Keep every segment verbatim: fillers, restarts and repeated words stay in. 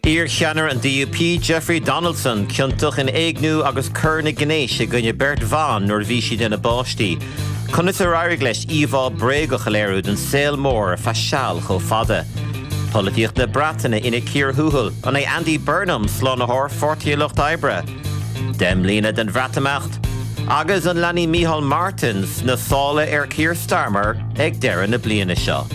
Iar-cheannaire an DUP Jeffrey Donaldson ciontach in éigniú agus coireanna gnéis i gcoinne beirt bhan nuair a bhí siad ina bpáistí. Conas ar éirigh leis íomhá bréagach a léiriú don saol mór feadh seal chomh fada. Polaitíocht na Breataine ina cíor thuathail an é Andy Burnham slánaitheoir Pháirtí an Lucht Oibre. Deich mbliana den Bhreatimeacht, agus an leanfaidh Micheál Martin sna sála ar Keir Starmer ag deireadh na bliana seo.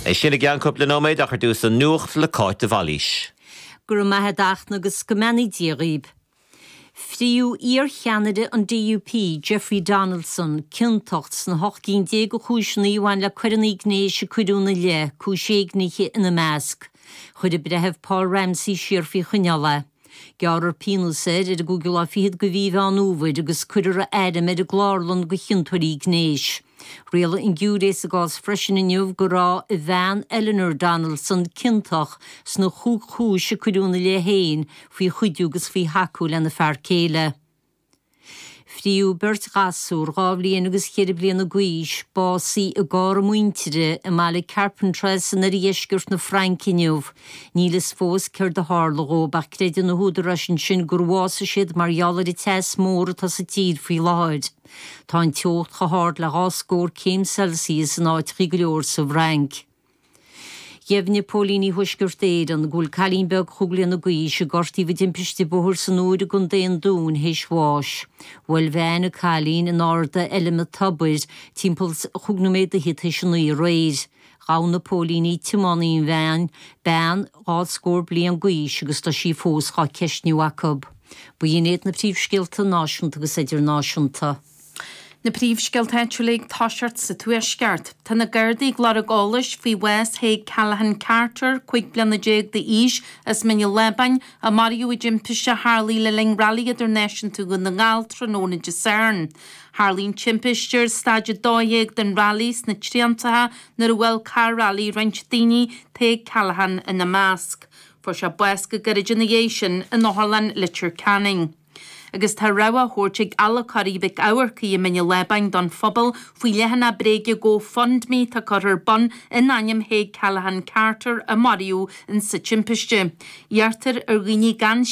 É sin i gceann cúpla nóiméad ach ar dtús an nuacht le Cáit de Bhailís. Go raibh maith agat a Fhachtna agus go mbeannaí Dia dhaoibh. Fríodh iar-cheannaire an DUP, Jeffrey Donaldson, ciontach sna hocht gcinn déag de chúiseanna a bhain le coireanna gnéis a cuireadh ina leith, cúis éignithe ina measc. Chuir an Breitheamh Paul Ramsey siar faoi choinneáil é. Gearrfar pionós air ar an gcúigiú lá fichead de mhí Mheán Fhómhair agus cuirfear a ainm ar an gclárlann do chiontóirí gnéis. Rialaigh an giúiré sa gcás freisin inniu go raibh a bhean Eleanor Donaldson ciontach sna chúig chúis a cuireadh ina leith féin faoi chuidiú agus faoi thacú lena fear céile. Fríodh beirt ghasúr, dhá bhliain agus cheithre bliana d'aois, básaithe i gcarr a muintire i mbaile Carpentras in oirdheisceart na Fraince inniu. Níl fhios fós céard a tharla dhóibh ach creideann na húdaráis ansin gur bhásaigh siad mar gheall ar an teas mór atá sa tír faoi láthair. Tá an teocht chomh hard le dhá scór céim Celsius in áiteachaí go leor sa bhFrainc. Dheimhnigh póilíní Thuaisceart Éireann go bhfuil cailín beag chúig bliana d'aois a gortaíodh i dtimpiste bóthair san Iúr i gContae an Dúin théis bháis. Bhuail veain an cailín in Arda Fheilme Tobair timpeall chúig nóiméad fhichead théis a naoi aréir. Ghabh na póilíní tiománaí an veain, bean dhá scór bliain d'aois agus tá sí fós dhá ceistniú acu. B'in iad na príomhscéalta náisiúnta agus idirnáisiúnta. Na príomhscéalta áitiúla ag toiseacht sa Tuaisceart. Tá na Gardaí ag lorg eolais faoi bhás Thaidhg Callaghan Carter, cúig bliana déag d'aois, as Mín an Lábáin, a maraíodh i dtimpiste a tharlaigh le linn Railí Idirnáisiúnta Dhún na nGall tráthnóna Dé Sathairn. Tharlaigh an timpiste ar staid a dó dhéag den railí sna Triantacha nuair a bhuail carr railí roinnt daoine, Tadhg Callaghan ina measc. Fuair sé bás go gairid ina dhiaidh sin in Otharlann Leitir Ceanainn. Agus tá rabhadh á thabhairt ag Adhlacóirí Mhic Eamharcaigh i Mín an Lábáin don phobal faoi leathanach bréige GoFundMe atá curtha ar bun in ainm Thaidhg Callaghan Carter a maraíodh insa timpiste. Iarrtar ar dhaoine gan